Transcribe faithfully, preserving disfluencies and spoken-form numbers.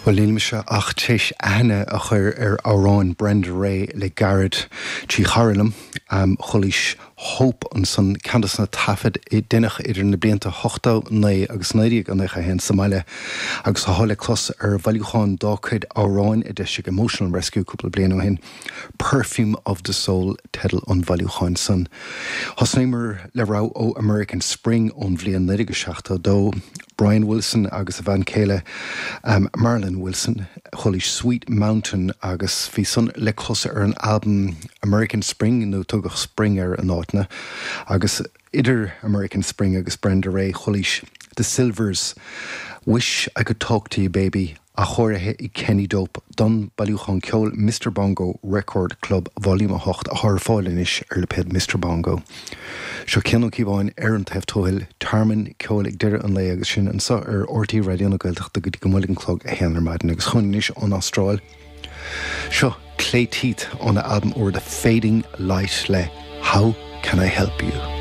Well níl mise ach théis aithne a chur ar amhráin Brenda Ray le gairid trí chara liom um, chualaís Hope ansan ceann de na taifid a deineadh idir na blianta ochtó naoi agus naoi déag nócha haon sa mbaile agus atá le clos ar bhailiúchán dá cuid amhrán a d'eisigh Emotional Rescue cúpla bliain ó shin. Perfume of the Soul teideal an bhailiúcháin san. Thosnaíomar le rogha ó American Spring ón bhliain naoi déag seachtó dó. Brian Wilson agus a bhean chéile um, Marilyn Wilson chualaís Sweet Mountain agus bhí san le clos ar an album American Spring nó tugadh Spring air in áiteanna agus idir American Spring agus Brenda Ray chualaís The Sylvers Wish I Could Talk to You Baby athchóirithe ag Kenny Dope don bailiúchán ceoil Mr Bongo Record Club Volume a hocht atá ar fáil anois ar lipéad Mr Bongo. Seo Cian Ó Cíobháin ar an taobh tuathail tearmann ceoil ag deireadh an lae agus sin anseo ar RTÉ Raidió na Gaeltachta go dtí go mbuailfidh an clog a haon ar maidin agus chugainn anois ón Astráil. Seo Clay Teith óna albam úr The Fading Light le How Can I Help You?